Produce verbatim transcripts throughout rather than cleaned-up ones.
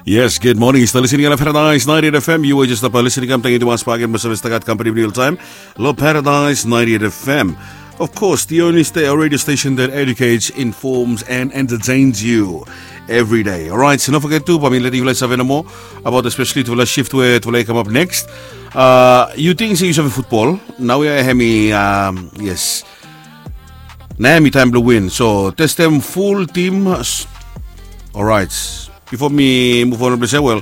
Yes, good morning. Yu stap listening long Paradise ninety-eight F M. Yu were just stap listening. Kam, tangkiu tumas bakegen blong save stap gat kampani blong yu oltaem long Paradise ninety-eight F M. Of course, the only sta-, radio station that educates, informs, and entertains you every day. Alright, so no foget tu, bae mi letem yufala save nomo about especially tufala shift we tufala i kamap next. Uh, yu ting se yu save futbol? Naoia hemi, um, yes. Naoia hemi taem blong win. So testem ful tim. Alright. Bifo mi muv on blong se, wel,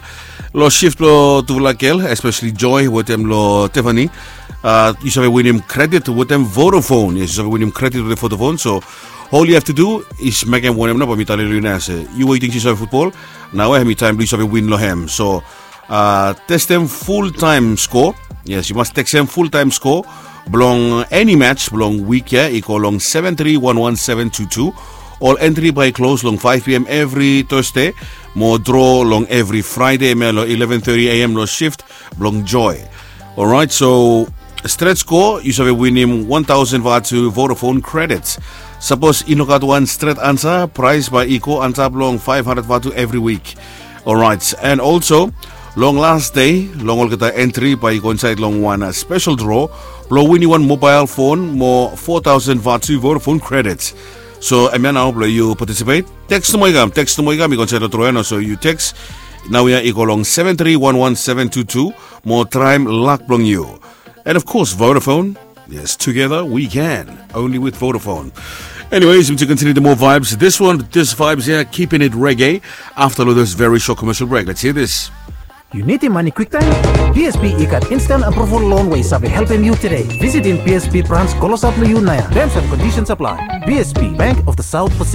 long shift blong tufala gel, especially Joy wetem long Tiffany, uh, yu save winim kredit wetem Vodafone. Yes, yu save winim kredit wetem Vodafone. So all you have to do is mekem wanem nao, bae mi talem long yu naoia se yu we yu ting se yu save futbol, naoia hemi taem blong yu save win long hem. So uh, testem fultaem skoa. Yes, yu mas tekstem fultaem skoa blong eni match blong wik ya i go long seven three one one seven two two. Ol entri bae i klos long five p.m. evri Thursday, mo draw long evri Friday hemia long eleven thirty a.m. long shift blong Joy. Alright, so stret skoa yu save winim one thousand vatu Vodafone credits. Sapos i no gat wan stret ansa, praes bae i go antap long five hundred vatu evri wik. Alright, and also long las dei, long olgeta entri bae i go insaed long wan, uh, spesel draw blong winim wan mobael fon mo four thousand vatu Vodafone credits. So hemia nao blong yu patisipet. Teks nomo i kam, teks nomo i kam, i go insaed long draw ya nao. So yu teks naoia i go long seven three one one seven two two mo traem lak blong yu. And of course, Vodafone. Yes, together we can. Only with Vodafone. Anyways, to continue the more vibes, this one, this vibes here, keeping it reggae. After this very short commercial break, let's hear this. Yu nidim mane kwiktaem? B S B i gat instant approval loan we i save helpem yu tede. Visitim B S B brans klosap long yu naoia. Terms and conditions apply. B S B, Bank of the South Pacific.